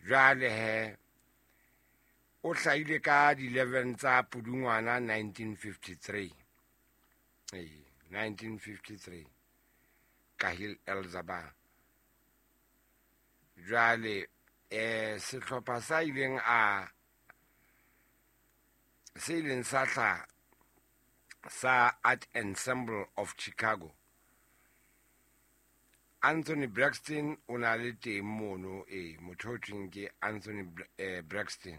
Jwale he o hlahile ka di-11 tsa Pudungwana 1953. Ee, 1953 Kahil Elzaba. Jwale sehlopha sa ileng a se ileng sa hla sa Art Ensemble of Chicago. Anthony Braxton o na le teng mono, e motho o thweng ke Anthony Braxton.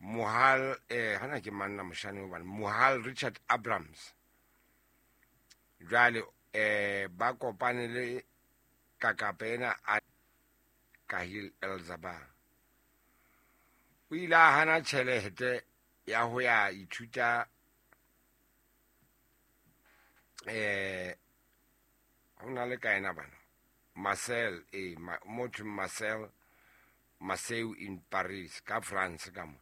Mohal hana ke manna moshane hobane Mohal Richard Abrams. Jwale ba kopane le kakapa ena a Kahil Elzaba. O ile a hana tjhelete ya ho ya ithuta ho na le ka ena bana Marcel motho Marcel Marcel in Paris ka France ka mo.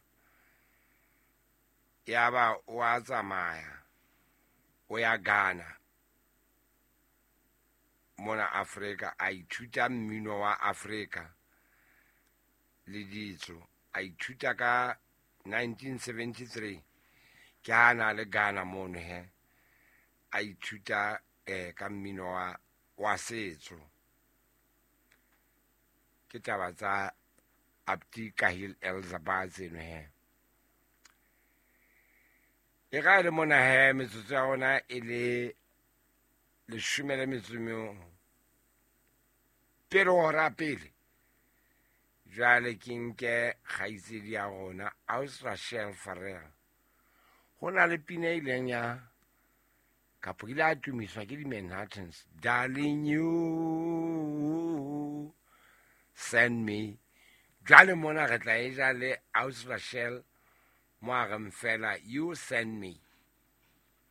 Ya ba o a tsamaya o ya Ghana mona Afrika a ithuta mmino wa Afrika le ditso, a ithuta ka 1973 ke ha na le Ghana mono he a ithuta ka mmino wa setso. Ke taba tsa Abdi Kahil Elzaba tseno he. E ga le mona he metsotso ya rona e le 15 pele hora pele. Jwale ke nke kgaitsedi ya rona Aus Rachel Farrell. Ho na le pina e ileng ya kapo ile a tumiswa ke di-Manhattans, Darling You Send Me. Jwale mona re tla e ja le Aus Rachel mo a reng fela You Send Me.